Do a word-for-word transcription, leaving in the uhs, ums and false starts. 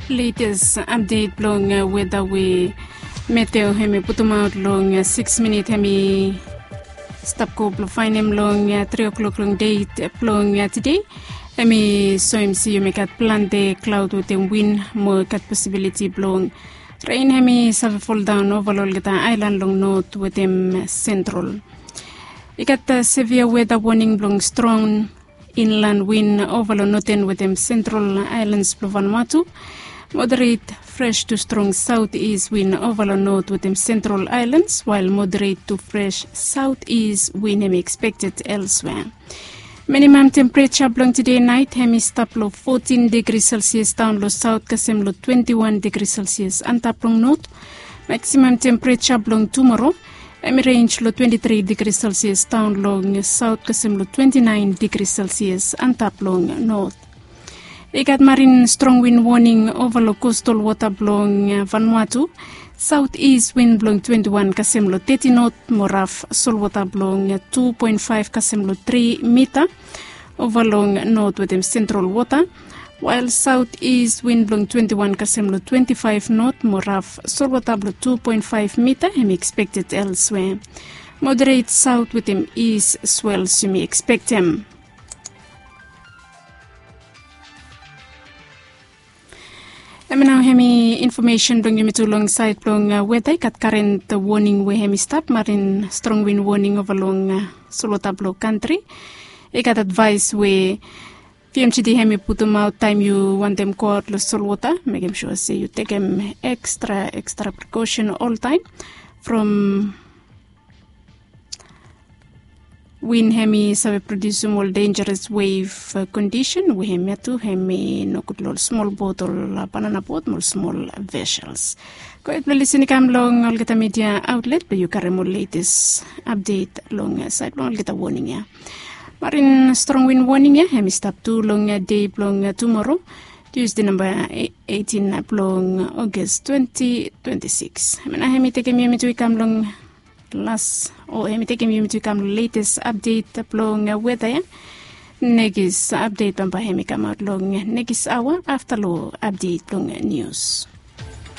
Letes apdet blong weda we meteo hem i putumaot long siks minit hem i stap go blong faenem long tri o'klok long deit blong tide. Hem i soem se yumi gat plante klaod wetem win mo i gat posibiliti blong ren hem i save foldaon ova long olgeta aelan long not wetem sentrol. I gat sevia weda woning blong strong inlan win ova long noten wetem sentrol aelans blong Vanuatu. Moderet fres tu strong saot is win ova long not wetem sentrol aelans wael moderet tu fres saot is win hem i ekspekted elswea. Minimam tempereja blong tide naet hem i stap long fotin digri selsias daon long saot kasem long twenti wan digri selsias antap long not. Maksimam tempereja blong tumoro hem i renj long twenti tri digri selsias daon long saot kasem long twenti naen digri selsias antap long not. I gat marin strong win woning ova long kostal wota blong Vanuatu. Saot is win blong twenti wan kasem long teti not mo raf solwota blong tu poen faef kasem long tri mita ova long not wetem sentrol wota. Wael saot is win blong twenti wan kasem long twenti faef not mo raf solwota blong tu poen faef mita hem i ekspekted elswea. Moderet saot wetem is swels yumi ekspektem. Hem nao hem i infomesen blong yumi tu long saed blong weda i gat karen woning we hem i stap marin strong win woning ova long solwota blong kantri. I gat advaes we pmgd hem i putumaot taem yu wantem goaot long solwota mekem sua se yu tekem ekstra ekstra prikosen oltaem. From win hem i save prodiusim ol denjeres wev kondisen we hem ya tu hem i nogud long ol smol bot ol banana bot mo ol smol vesels. Go hed blong lisin i kam long olgeta midia aotlet blong yu karim ol letes apdet long saed blong olgeta woning ya. Marin strong win woning ya hem i stap tu long dei blong tumoro, tiusde namba eitin blong ogas twenti twenti siks. Hem ya nao hem i tekem yumi tu i kam long las o hem i tekem yumi tu i kam long letes apdet blong weda ya. Nekis apdet bambae hem i kamaot long nekis aoa afta long apdet blong nius.